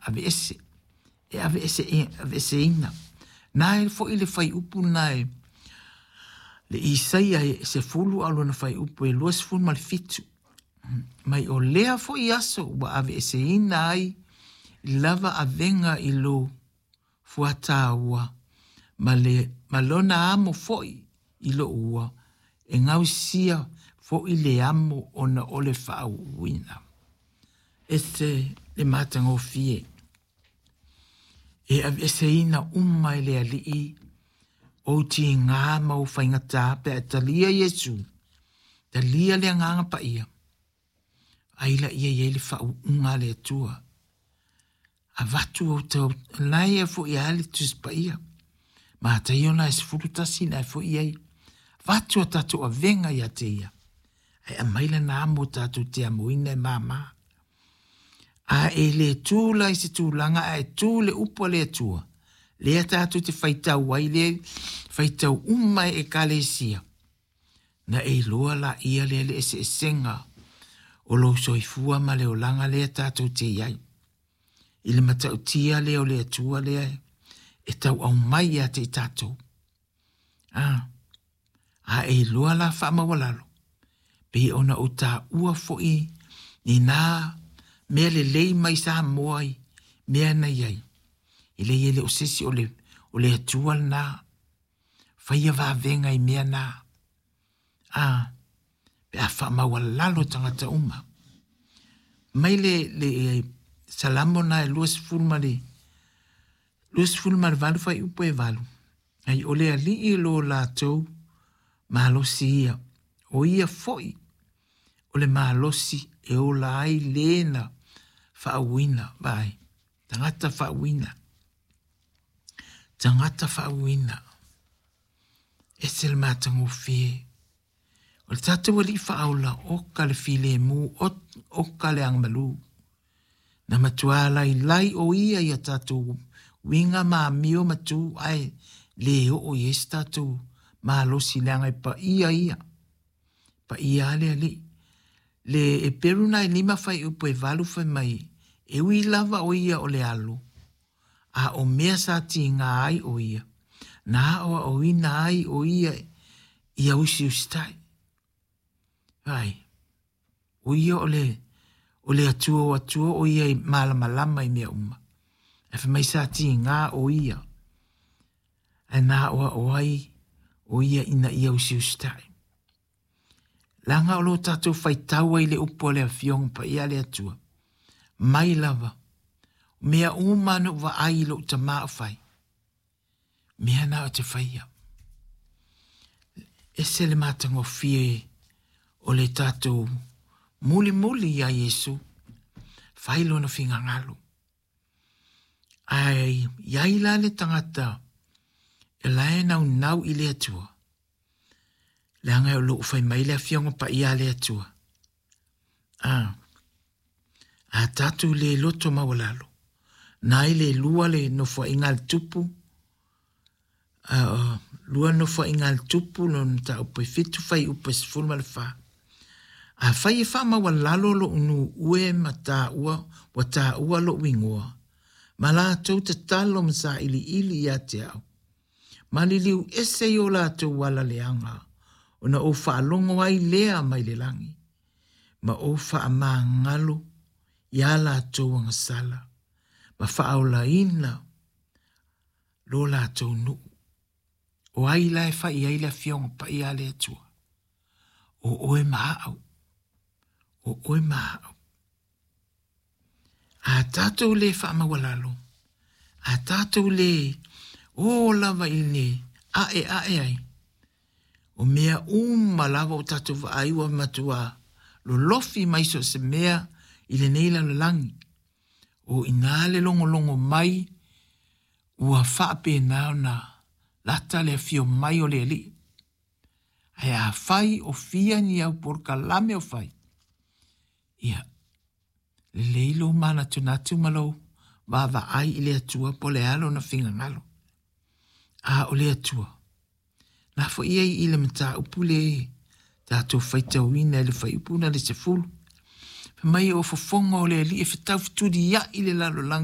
aveese, e aveese, aveeseina. Na e foʻi le fuaiupu lena e le Isaia e 10 a o lona fuaiupu e 27. Mai o lea foʻi aso ua aveeseina ai lava avega i lou fuataua ma, le, ma lona amo foʻi i lou ua e gausia foʻi le amo ona o le faauuina. Ese le matagofie e aveeseina uma e le Alii ou tigā ma ou faigata pe a e talia Iesu, talia le Agaga Paia, ai laia i ai le faauuga a le Atua. Avatu ou tau, lae ia foʻi a le Tusi Paia. Mataio na e 11 na e foʻi ai. Avatu a tatou avega ia te ia. Ae aumai lana amo tatou te amoina e māmā. A e le tū la i se tulaga ae tū le upu a le Atua, lea tatou te faitau ai, lea faitau uma e Ekalesia, na e iloa laia lea le eseesega o lou soifua ma le olaga lea tatou te i ai. I le matautia lea o le Atua lea e tauau mai ia te i tatou. A, a e iloa la faamaualalo, pei ona ou taua foi i nā mea lelei mai Samoa i mea na i ai. E leai e le o se isi o le, o le Atua lena. Faia vavega i mea na. A, pe a faamaualalo tagata uma. Mai le, le Salamo na e 20 ma le 28 fuaiupu e 8. Ai o le Alii lo latou malosi ia, o ia foi o le malosi e ola ai le na faauuina, vaai, tagata faauuina, tagata faauuina. Ese le matagofie. O le tatou Alii faaola, oka le filemu, oka le agamalu. Na matua lailai o ia ia tatou uiga ma amio ma tu ae le oo i ai se tatou malosi leaga e paia ia. Paia a le Alii. Le Eperu na e 5 fuaiupu e 8 fai mai, e ui lava o ia o le alo, a o mea sa tiga ai o ia, na aoaoina ai o ia ia usiusitai. Ai, o ia o le, o le Atua o Atua, o ia i malamalama i mea uma. Ae fai mai sa tiga o ia, ae na aoao ai o ia ina ia usiusitai. Leaga o lo tatou faitau ai le upu a le Afioga Paia a le Atua, mai lava, mea uma na ou vaai i lou tama o fai, mea na o te faia. Ese le matagofie o le tatou mulimuli iā Iesu, fai lona finagalo. Ae i ai la le tagata e la e naunau i le Atua, leaga o lo o fai mai le Afioga Paia a le Atua. A, a tatou le loto maualalo, na ai le lua le nofoaiga a le tupu, a, lua nofoaiga a le tupu, lona mataupu e 7, fuaiupu e 14. Afai e faamaualalo lou nuue ma taua, ua taua lou igoa, ma latou tatalo ma sailiili ia te au, ma liliu ese i o latou ala leaga, ona ou faalogo ai lea mai le lagi, ma ou faamagalo iā latou agasala, ma faaolaina lo latou nuu. O ai la e fai ai le Afioga Paia a le Atua? O oe ma au. O oe ma au. A tatou le faamaualalo, a tatou le o lava i le ae ae ai, o mea uma lava o tatou vaai ua matua lolofi mai so o se mea i lenei lalolagi. O ina le logologo mai ua faapena ona lata le afio mai o le Alii. Ae afai o fia ni au polokalame o fai, ia, lelei lou manatunatu ma lou vaavaai i le Atua po o le a lona finagalo. A o le Atua, na foi ai i le mataupu le tatou faitauina i le fuaiupu na le 10. Fai mai o fofoga o le Alii e fetau fetuliai le lalolagi.